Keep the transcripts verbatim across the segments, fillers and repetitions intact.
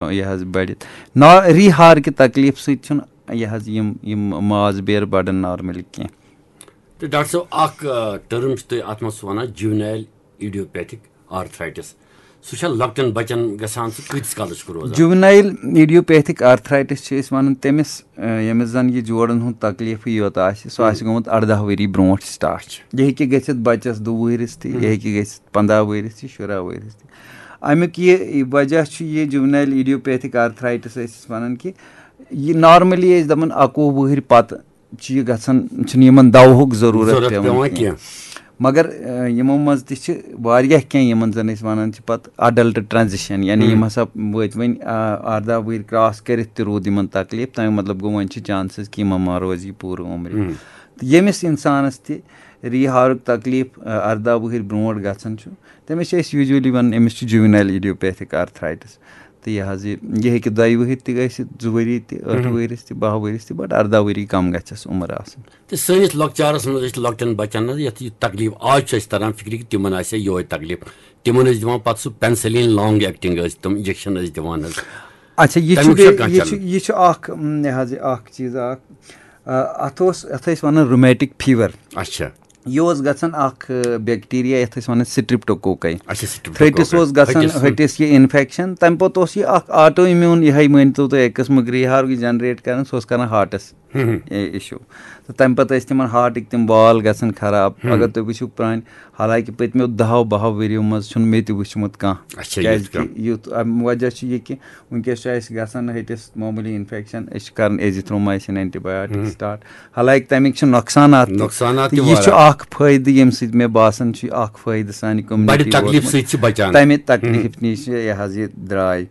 یہِ حظ بٔڑِتھ۔ نا، ریٖہار کہِ تکلیٖف سۭتۍ چھُنہٕ یہِ حظ یِم یِم ماز بیر بڑان نارملی کینٛہہ۔ تہٕ ڈاکٹر صٲب، اکھ ٹٔرم چھِ تُہۍ اتھ منٛز وَنان جُوینایل ایڈیوپیتھک آرتھرائٹس۔ سُہ چھا لۄکٹٮ۪ن بچن گژھان؟ سُہ کۭتِس کالس چھُ روزان؟ جُوینایل ایڈیوپیتھک آرتھرائٹس چھِ أسۍ وَنان تٔمِس، ییٚمِس زَن یہِ جوڑَن ہُنٛد تکلیٖفٕے یوت آسہِ، سُہ آسہِ گوٚمُت اَرداہ ؤری برونٛٹھ سٹارٹ۔ یہِ ہیٚکہِ گٔژھِتھ بَچَس دُ وُہرِس تہِ، یہِ ہیٚکہِ گٔژھِتھ پنٛداہ ؤرِس تہِ، شُراہ ؤرِس تہِ۔ اَمیُک یہِ وجہ چھُ یہِ جُوینایل ایڈیوپیتھک آرتھرائٹس ٲسۍ أسۍ وَنان کہِ یہِ نارملی ٲسۍ دَپان اَکوُہ وُہٕرۍ پَتہٕ چھُ یہِ گژھان، چھُنہٕ یِمَن دوہُک ضروٗرت ضروٗرت پٮ۪وان پٮ۪وان کینٛہہ۔ کینٛہہ۔ مگر، آ، یِمو منٛز تہِ چھِ واریاہ کینٛہہ یِمَن زَن أسۍ وَنان چھِ پَتہٕ اڈلٹ ٹرانزیشن، یعنی یِم ہسا وٲتۍ وۄنۍ، آ، اَرداہ وُہٕرۍ کراس کٔرِتھ تہِ روٗد یِمَن تکلیٖف، تَمہِ مطلب گوٚو وۄنۍ چھِ چانسز کہِ یِمَن ما روزِ یہِ پوٗرٕ عمرِ۔ تہٕ ییٚمِس اِنسانَس تہِ ریٖہارُک تکلیٖف، آ، اَرداہ وُہٕرۍ برونٛٹھ گژھان چھُ، تٔمِس چھِ أسۍ یوٗجولی وَنان أمِس چھُ جُوینایل ایڈیوپیتھک آرتھرائٹس۔ تہٕ یہِ حظ یہِ یہِ ہیٚکہِ دۄیہِ وٕہٕرۍ تہِ گٔژھِتھ، زٕ ؤری تہِ، ٲٹھٕ ؤرِس تہِ، باہ ؤرِس تہِ، بٹ اَرداہ ؤری کم گژھٮ۪س عمر آسٕنۍ۔ تہٕ سٲنِس لۄکچارس منٛز ٲسۍ لۄکٹٮ۪ن بچن حظ یتھ یہِ تکلیٖف آز چھُ اَسہِ تران فِکرِ کہِ تِمن آسہِ ہا یِہوے تکلیٖف۔ تِمن ٲسۍ دِوان پتہٕ سُہ penicillin long acting، ٲسۍ تِم انجیکشن ٲسۍ دِوان حظ۔ اچھا، یہِ چھُ تَمیُک چھا بیٚیہِ کانٛہہ یہِ چھُ challenge؟ یہِ چھُ اکھ، م، یہِ حظ یہِ اکھ چیٖز اکھ، آ، اتھ اوس، اتھ ٲسۍ ونان رومیٹک فیور۔ اچھا۔ یہِ اوس گژھان اکھ، آ، بیکٹیریا، یتھ ٲسۍ ونان سٹریپٹوکوکے۔ اچھا، streptococcus۔ تھرٹس اوس گژھان ہٹِس۔ ہٹِس یہِ انفیکشن، تمہِ پتہٕ اوس یہِ اکھ آٹو امیون، یِہے مٲنۍ تو تُہۍ اکہِ قٕسمٕک ریٖہار یہِ جنریٹ کران، سُہ اوس کران ہارٹس اے، issue۔ تہٕ تمہِ پتہٕ ٲسۍ تِمن ہارٹٕکۍ تِم وال گژھان خراب۔ اگر تُہۍ وٕچھِو پرٲنۍ، حالانکہ پٔتمیو دہو بہو ؤریو منٛز چھُنہٕ مےٚ تہِ وٕچھمُت کانٛہہ۔ اچھا، کیازِ یُتھ کہِ کانٛہہ۔ یُتھ، اَمہِ وجہ چھُ یہِ کہِ وٕنکیٚس چھُ اَسہِ گژھان ہٹِس معموٗلی انفیکشن، أسۍ چھِ کران ایزیتھرومایسن اینٹی بایوٹک سٹارٹ۔ حالانکہ تَمِکۍ چھِ نۄقصانات تہِ۔ نۄقصانات تہٕ تہِ یہِ چھُ واریاہ۔ اکھ فٲیدٕ، ییٚمہِ سۭتۍ مےٚ باسان چھُ یہِ اکھ فٲیدٕ سانہِ بڑِ کمیونٹی تکلیٖف ووتمُت۔ سۭتۍ چھِ بچان۔ تَمہِ تکلیٖف نِش یہِ حظ یہِ درٛاے۔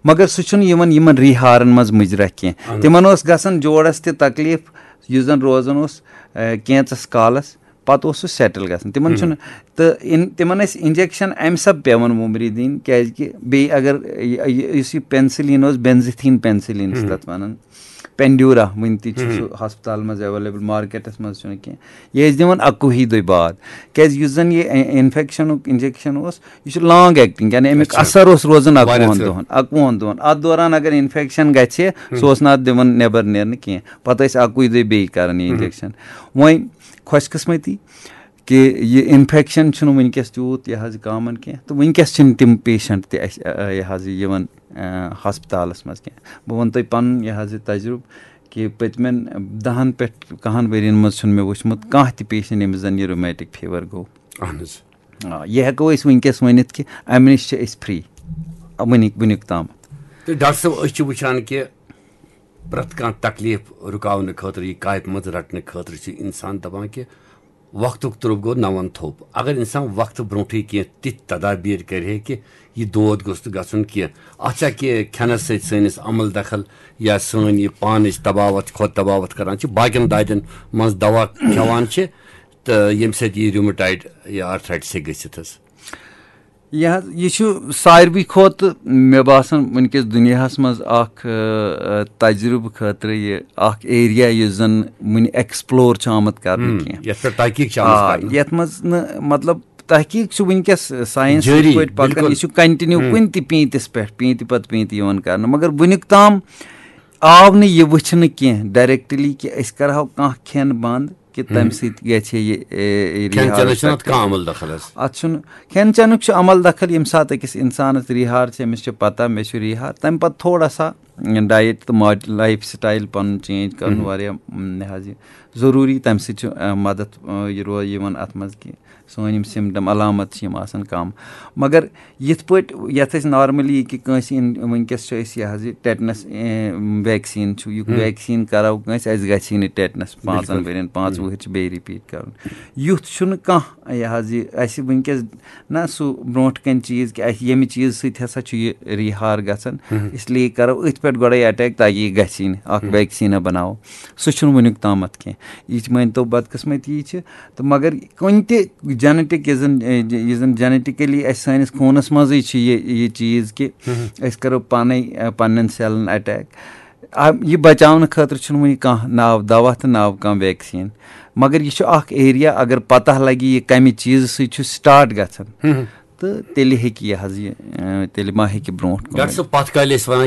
مگر سُہ چھُنہٕ یِوان یِمن ریٖہارن منٛز مُجرا کینٛہہ۔ تِمن اوس گژھان جوڑس تہِ تکلیٖف، یُس زن روزان اوس، آ، کینٛژس کالس، پتہٕ اوس سُہ سیٹل گژھان۔ تِمن چھُنہٕ، تہٕ ان-، تِمن ٲسۍ انجیکشن امہِ سبہٕ پٮ۪وان وُمرِ دِنۍ، کیازِ کہِ بیٚیہِ اگر یہِ، یہِ، یُس یہِ penicillin اوس، بینزتھین penicillin چھِ تتھ ونان، پینڈیورا، وُنہِ تہِ چھُ سُہ ہسپتال منٛز اویلیبل، مارکیٹس منٛز چھُنہٕ کینٛہہ۔ یہِ ٲسۍ دِوان اَکوُہی دۄہہِ بعد، کیازِ یُس زن یہِ اِنفیکشنُک انجیکشن اوس، یہِ چھُ لانگ ایکٹنگ، یعنی امیُک اچھا۔ اثر اوس روزان واریاہ اَکوُہن ژٕ۔ دۄہن، اَکوُہن دۄہن۔ اتھ دوران اگر انفیکشن گژھِ، سُہ اوس نہٕ اتھ دِوان نٮ۪بر نیرنہٕ کینٛہہ، پتہٕ ٲسۍ اَکُے دۄہ بیٚیہِ کران یہِ انجیکشن۔ وۄنۍ خۄش قسمتی کہِ یہِ انفیکشن چھُنہٕ وٕنکیٚس تیوٗت یہِ حظ یہِ کامن کینٛہہ، تہٕ وٕنکیٚس چھِنہٕ تِم پیشنٹ تہِ اَسہِ، آ، یہِ حظ یہِ یِوان، آ، ہسپتالس منٛز کینٛہہ۔ بہٕ وَنہٕ تۄہہِ پَنُن یہِ حظ یہِ تجرُبہٕ کہِ پٔتمٮ۪ن دَہَن پٮ۪ٹھ کَہَن ؤرین منٛز چھُنہٕ مےٚ وٕچھمُت کانٛہہ تہِ پیشنٹ ییٚمِس زَن یہِ رومیٹک فیور گوٚو۔ اہن حظ۔ آ، یہِ ہٮ۪کو أسۍ وٕنکیٚس ؤنِتھ کہِ اَمہِ نِش چھِ أسۍ فری وٕنیُک وٕنیُک تام۔ تہٕ ڈاکٹر صٲب، أسۍ چھِ وٕچھان کہِ پرٛٮ۪تھ کانٛہہ تکلیٖف رُکاونہٕ خٲطرٕ، یہِ کامہِ منٛز رٹنہٕ خٲطرٕ چھُ انسان دپان کہِ وقتُک ترٛوٚپ گوٚو نون تھوٚپ۔ اگر انسان وقتہٕ برونٛٹھٕے کینٛہہ تِتھۍ تدابیر کرِ ہے کہِ یہِ دود گوٚژھ نہٕ گژھُن کینٛہہ، اتھ چھا کہِ کھٮ۪نس سۭتۍ سٲنِس عمل دخل یا سٲنۍ یہِ پانٕچ طباوت، خۄد طباوت کران چھِ، باقین دادٮ۪ن منٛز دوا کھٮ۪وان چھِ، تہٕ ییٚمہِ سۭتۍ یہِ ریومیٹایڈ یا آرتھرائٹس ہیٚکہِ گٔژھِتھ حظ؟ یہِ حظ، یہِ چھُ ساروٕے کھۄتہٕ، مےٚ باسان، وٕنکیٚس دُنیاہَس منٛز اکھ، آ، آ، تجرُبہٕ خٲطرٕ یہِ اکھ ایریا یُس زَن وٕنہِ ایکسپلور چھُ آمُت کرنہٕ کینٛہہ۔ یتھ پٮ۪ٹھ تحقیٖق چھِ آمٕژ آ، کرنہٕ۔ یَتھ منٛز نہٕ، مطلب، تحقیٖق چھُ وٕنکیٚس ساینس جٲری، پٲٹھۍ پکان، بِلکُل۔ یہِ چھُ کنٹِنیو کُنہِ تہِ پیٖنتِس پٮ۪ٹھ، پیٖنتہِ پتہٕ پیٖنتہِ یِوان کرنہٕ، مگر وٕنیُک تام آو نہٕ یہِ وٕچھنہٕ کینٛہہ ڈائریکٹلی کہِ أسۍ کرہو کانٛہہ کھٮ۪ن بنٛد کہِ تَمہِ سۭتۍ گژھِ ہے یہِ، اے، اے، کھٮ۪ن ریٖہارَس چٮ۪نس چھُنہٕ پٮ۪ٹھ اتھ کانٛہہ عمل دخل حظ۔ اتھ چھُنہٕ، کھٮ۪ن چٮ۪نُک چھُ عمل دخل، ییٚمہِ ساتہٕ أکِس انسانس ریٖہار چھِ، أمِس چھِ پتہ مےٚ چھُ ریٖہار، تمہِ پتہٕ تھوڑا سا ڈایٹ تہٕ ماڈ-، لایف سٹایل پنُن چینج کرُن واریاہ، م، یہِ حظ یہِ ضروٗری، تمہِ سۭتۍ چھُ، آ، مدد، آ، یہِ رو-، یِوان اتھ منٛز کہِ سٲنۍ یِم سِمٹم علامت چھِ یِم آسان کم۔ مگر یِتھ پٲٹھۍ یتھ أسۍ نارملی یہِ کہِ کٲنٛسہِ ان-، وٕنکیٚس چھِ أسۍ یہِ حظ یہِ ٹیٹنس، اے، ویکسیٖن چھُ، یہِ ویکسیٖن کرو کٲنٛسہِ، اَسہِ گژھِ ہے نہٕ ٹیٹنس پانٛژن ؤرین، پانٛژھ وُہٕرۍ چھِ بیٚیہِ رِپیٖٹ کرُن۔ یُتھ چھُنہٕ کانٛہہ یہِ حظ یہِ اَسہِ وٕنکیٚس نہ سُہ برونٛٹھ کَنہِ چیٖز کہِ اَسہِ ییٚمہِ چیٖز سۭتۍ ہسا چھُ یہِ ریٖہار گژھان، اس لیے کرو أتھۍ پٮ۪ٹھ گۄڈَے اٹیک تاکہِ یہِ گژھِ یی نہٕ، اکھ ویکسیٖن بناوو۔ سُہ چھُنہٕ وٕنیُک تامَتھ کینٛہہ۔ یہِ چھِ، مٲنۍ تو، بدقٕسمتی چھِ، تہٕ مگر کُنہِ تہِ جینیٹک یُس زَن، اے، یُس زَن جینیٹکلی اَسہِ سٲنِس خوٗنَس منٛزٕے چھِ یہِ، یہِ چیٖز کہِ أسۍ کَرو پانَے، اے، پنٛنٮ۪ن سیلَن اٹیک۔ آ، یہِ بچاونہٕ خٲطرٕ چھُنہٕ وٕنہِ کانٛہہ ناو دوا تہٕ ناو کانٛہہ ویکسیٖن، مگر یہِ چھُ اکھ ایریا، اگر پتہ لگہِ یہِ کمہِ چیٖزٕ سۭتۍ چھُ سٹارٹ گژھان، تہٕ تیٚلہِ ہیٚکہِ یہِ حظ یہِ، اے، تیٚلہِ ما ہیٚکہِ برونٛٹھ کُن ڈاکٹر ؤنِتھ۔ صٲب، پتھ کالہِ ٲسۍ ونان